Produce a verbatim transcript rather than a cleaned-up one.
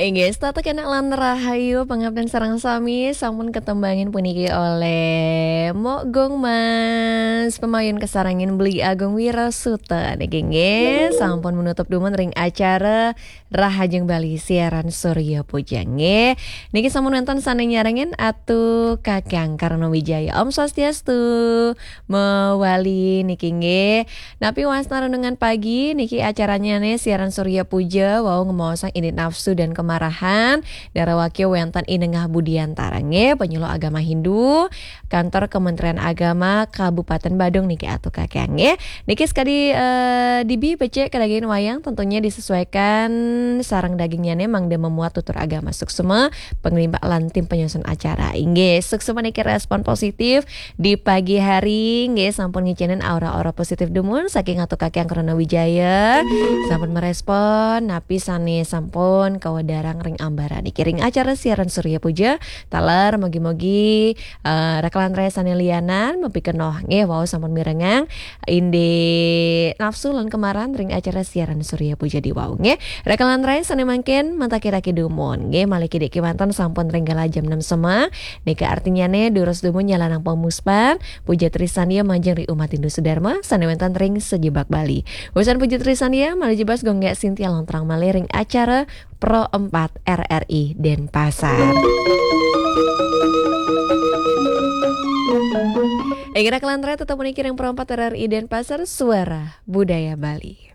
Inggih, setata kena lan rahayu pangabden sareng sami sampun ketembangin puniki oleh Mok Gong Mas, pamayun kasarengin Beli Agung Wirasuta niki nggih sampun menutup dumun ring acara Rahajeng Bali siaran Surya Puja nggih. Niki sampun wenten sane nyarengin Atu Kakang Karna Wijaya. Om Swastiastu. Mewali niki nggih. Napi wasna renungan pagi niki acaranyane siaran Surya Puja wau ngemaosang indik nafsu dan kemarahan. Darawakya wenten inengah budiantara nggih, penyuluh agama Hindu, kantor Kementerian Agama Kabupaten Badung niki Atu Kakang nggih. Niki sekadi eh, dibi becik kedagingin wayang tentunya disesuaikan sareng dagingnyane mangda memuat tutur agama suksma, pengelimbak lan tim penyusun acara. Inggih, suksma niki respon positif di pagi hari nggih sampun ngicenin aura-aura positif dumun saking Atu Kakang Karna Wijaya. Sampun merespon napi sane sampun kawedarang ring ambara niki ring acara siaran Surya Puja. Taler mugi-mugi eh, raka lan rahayu sane lianan mapikenoh nggih wau sampun mirengang indik nafsu lan kemarahan ring acara siaran Surya Puja di wau nggih. Raka lan rahayu sane mangkin matakiraki dumun nggih malih kidik kiwanten sampun ring galah jam enam sema. Nika artinyane durus dumun nyalanang pamuspan Puja Trisandya majeng ring umat Hindu Sudarma sane wenten ring sajebag Bali. Wusan Puja Trisandya malih jebas Gung Gek Sintia lontrang malih ring acara Pro empat R R I Denpasar. Inggih raka lan rahayu tetep puniki ring Pro empat R R I Denpasar, Suara Budaya Bali.